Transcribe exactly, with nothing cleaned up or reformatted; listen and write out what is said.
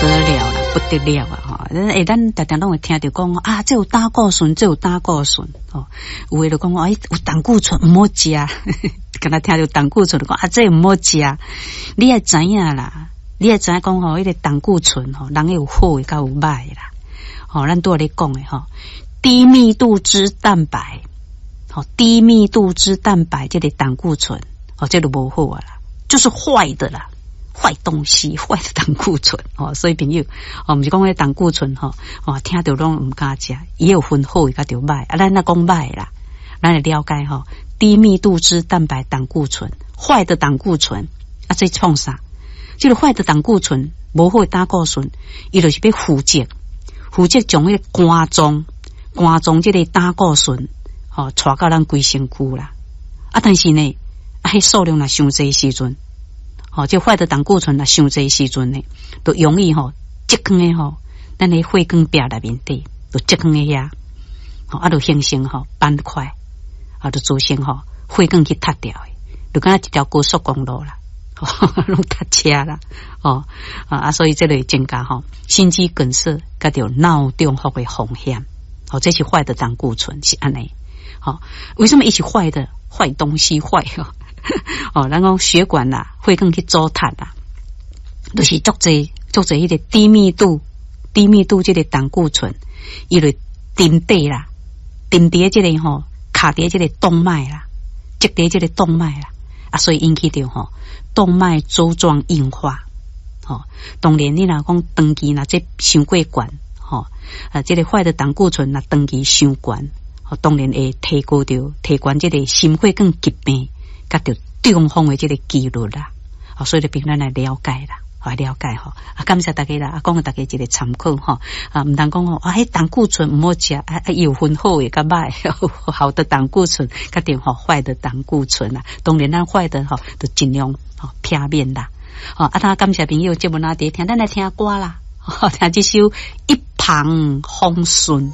得了啦，不得了啊！吼，欸，咱常常攏會聽著講啊，這有膽固醇，這有膽固醇，吼，有的就講哎，有膽固醇毋好食，敢若聽著膽固醇就講啊，這毋好食。你愛知影啦，你愛知影講吼，彼個膽固醇吼，人有好的，佮有歹的啦。吼，咱拄仔咧講的吼，低密度脂蛋白，吼，低密度脂蛋白這個膽固醇，吼，這就無好啊啦，就是壞的啦。壞東西，壞的膽固醇哦，所以朋友哦，毋是講彼膽固醇吼，哦，聽著攏毋敢食，伊有分好的佮著歹啊，咱若講歹啦，咱來了解吼，低密度脂蛋白膽固醇，壞的膽固醇啊，這創啥？這個壞的膽固醇，無好的膽固醇，伊就是欲負責，負責將彼個肝臟，肝臟這個膽固醇，吼，帶到咱規身軀啦。啊，但是呢，啊，彼數量若傷濟時陣。吼，這壞的膽固醇若傷濟時陣呢，就容易吼積囥佇吼，咱的血管壁內面底，就積囥佇遐，吼啊，就形成吼斑塊，啊，就造成吼血管去塞掉的，就敢若一條高速公路啦，攏塞車啦，哦啊，所以這個會增加吼心肌梗塞，佮著腦中風的風險，吼，這是壞的膽固醇是按呢，吼，為什麼伊是壞的？壞東西壞哦，咱講血管啦，血管去阻塞啦，就是足濟足濟彼個低密度、低密度這個膽固醇，伊就沉底啦，沉佇這個吼卡佇這個動脈啦，積佇這個動脈啦，啊，所以引起著吼動脈粥狀硬化。吼，當然你若講長期若這傷過懸，吼啊，這個壞的膽固醇若長期傷懸，吼，當然會提高著提懸這個心血管疾病。佮著中風的這個幾率啦，所以就憑咱來了解啦，來了解吼。啊，感謝大家啦，啊，講予大家一個參考吼。啊，毋通講吼，啊，彼膽固醇毋好食，啊啊，有分好的佮歹，好的膽固醇，佮著吼壞的膽固醇啦。當然咱壞的吼，就盡量吼避免啦。吼，啊，他感謝朋友節目那佇聽，咱來聽歌啦，聽這首《一帆風順》。